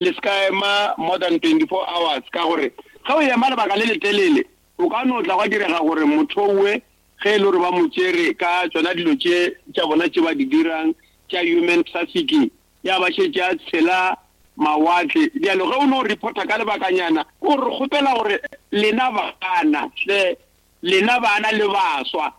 Le se ka ema more than 24 hours ka gore ge o ema lebaka le letelele o ka no tla gwa direga gore motho owe ge e le gore ba mo tšere ka tšona dilo tše tša bona tše ba di dirang tša human trafficking ya ba šetše a tshela mawatle. Bjalo ge o no reporta ka lebakanyana ke gore re kgopela gore lena bana hle lena bana le baswa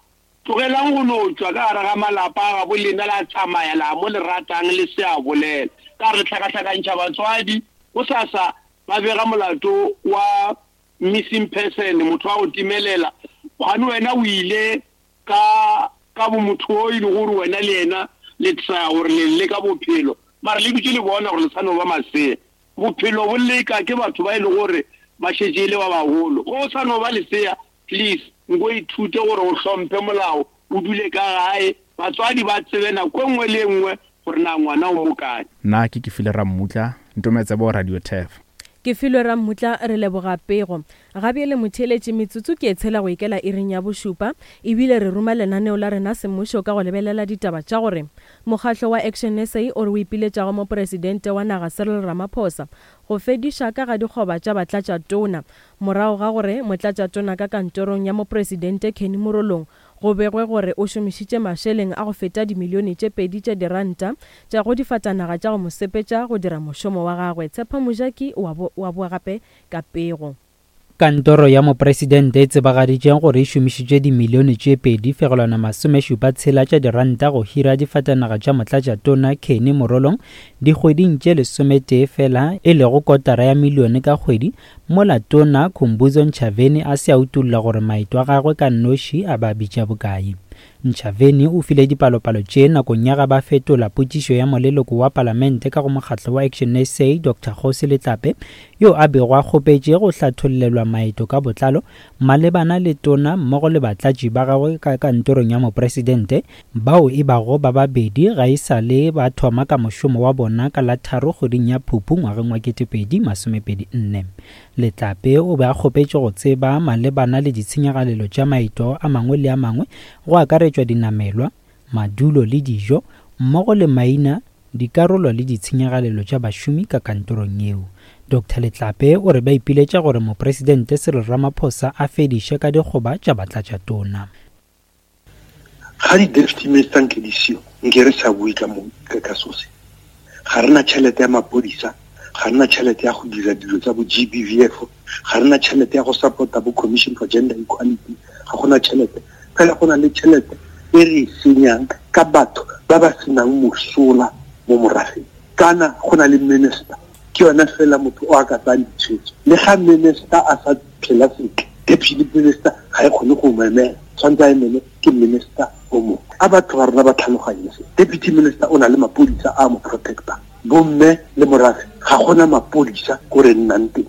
Tlogelang go no tšwa ka gare ga malapa a gabo lena la tsamaya la mo le ratang le se a bolela. Ka re hlakahlakantšha batswadi, gosasa ba bega molato wa missing person, motho wa go timelela, kgane wena o ile ka ka bo motho o e lego gore wena le yena le traya gore le leka bophelo mara le dutše le bona gore le sa no ba masea. Bophelo bo leka ke batho ba e lego gore ba šetše e le ba bagolo. Ge o sa no ba lesea Please nko ithute gore o hlomphe molao, o dule ka gae, batswadi ba tsebe nako e nngwe le e nngwe gore na ngwana o mo kae. Nna ke Kefilwe Rammutla, Ntometsebo Radio Turf. Kefilwe Rammutla, Re leboga pego. Gabjele motheeletši, metsotso ke e tshela go ikela iring ya bošupa, ebile re ruma lenaneo la rena semmušo ka go lebelela ditaba tša gore mokgahlo wa Action SA o re o ipiletša go Mopresidente wa naga Cyril Ramaphosa go fediša ka ga dikgoba tša batlatšatona Morago ga gore motlatšatona ka kantorong ya mopresidente Kenny Morolong go begwe gore o šomišitše mašeleng a go feta dimilione tše pedi tša diranta tša go difatanaga tša go mo sepetša go dira mošomo wa gagwe, Tshepo Mojaki o a boa gape ka pego. Kantoro ya mopresidente e tsebagaditše gore e šomišitše dimilione tše 2.76 tša diranta go hira difatanaga tša motlatšatona Kenny Morolong dikgweding tše lesometee fela, e lego kotara ya milione ka kgwedi, Mola Tona Khumbudzo Ntshavheni a se a utolla gore maeto a gagwe ka noši a ba bitša bokae. Ntshavheni o file dipalopalo tše nakong ya ga ba fetola potšišo ya moleloko wa palamente ka go mokgatlo wa ActionSA Doctor Kgosi Letlape yo a bego a kgopetše go hlathollelwa maeto ka botlalo malebana le tona mmogo le batlatši ba gagwe ka kantorong ya mopresidente bao e bago ba babedi ga e sa le ba thoma ka mošomo wa bona ka la tharo kgweding ya Phuphu ngwageng wa 2024. Letlape o be a kgopetše go tseba malebana le ditshenyagalelo tša maeto a mangwe le a mangwe go akaretšwa dinamelwa, madulo le dijo, mmogo le maina, dikarolo le ditshenyagalelo tša bašomi ka kantorong yeo. Doctor Letlape o re ba ipiletša gore Mopresidente Cyril Ramaphosa a fediše ka dikgoba tša batlatšatona. Ga di-deputy minister nke di seo, nke re sa bue ka mo ka so se. Ga re na tšhelete ya mapodisa, ga re na tšhelete ya go dira dilo tsa bo G_B_V_F, ga re na tšhelete ya go support-a bo Commission for Gender Equality, ga gona tšhelete. Fela go na le tšhelete e re e senyang ka batho ba ba senang mosola mo morafeng. Kana go na le minister, ke yona fela motho o a ka tsayang ditshwetso. Le ga minister a sa phela sentle, deputy minister ga e kgone go mo emela, tshwanetse a emele ke minister o mongwe. A batho ba rona ba tlhaloganye se. Deputy minister o na le mapodisa a mo protectang. Bomme le morafe ga gona mapodisa ko re nnang teng.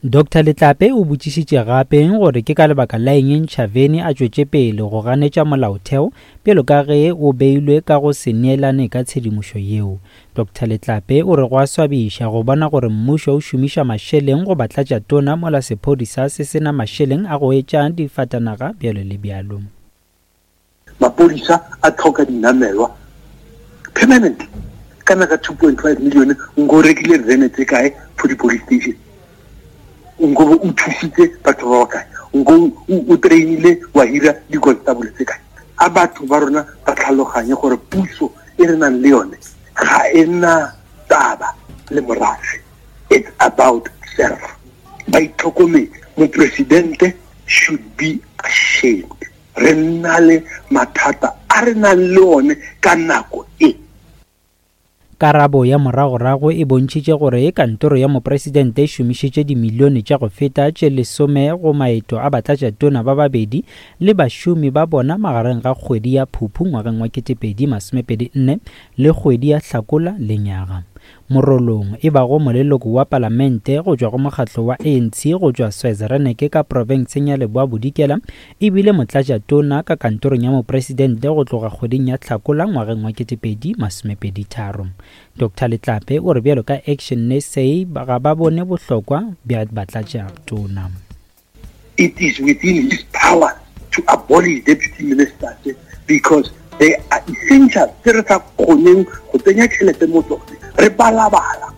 Doctor Letlape o botšišitše gape gore ke ka lebaka la eng Ntshavheni a tšwetše pele go ganetša molaotheo bjalo ka ge o beilwe ka go se neelane ka tshedimošo yeo. Doctor Letlape o re go a swabiša go bona gore mmušo o šomiša mašeleng go ba tlatša tona mola sephodisa se se na mašeleng a go etša difatanaga bjalo le bjalo. Mapodisa a tlhoka dinamelwa permanently. Kana ka 2.5 million nko o rekile vene tse kae for di-police station? Nko bo o thusitse batho ba ba kae? Nko o trainile wa hira di-constable tse kae? A batho ba rona ba tlhaloganye gore puso e re nang le yone ga e na taba le morafe. It's about self. Ba itlhokometse. Mopresidente should be ashamed. Re nna le mathata a re nang le one ka nako e. Karabo ya moragorago e bontšhitše gore kantoro ya mopresidente e šomišitše dimilione tša go feta tše lesome go maeto a batlatšatona ba babedi le bašomi ba bona magareng ga kgwedi ya Phuphu ngwageng wa 2024 le kgwedi ya Hlakola lenyaga. Morolong, e bago moleloko wa palamente go tšwa go mokgatlo wa ANC go tšwa Switzerlaneke ka profenseng ya Leboa Bodikela, e bile motlatšatona ka kantorong ya mopresidente go tloga kgweding ya Hlakola ngwageng wa 2023. Doctor Letlape o re bjalo ka Action SA ga ba bone bohlokwa bja batlatšatona. It is within his power to abolish deputy ministers because they are essential tse re sa kgoneng go tsenya tšhelete mo tsone re balabala.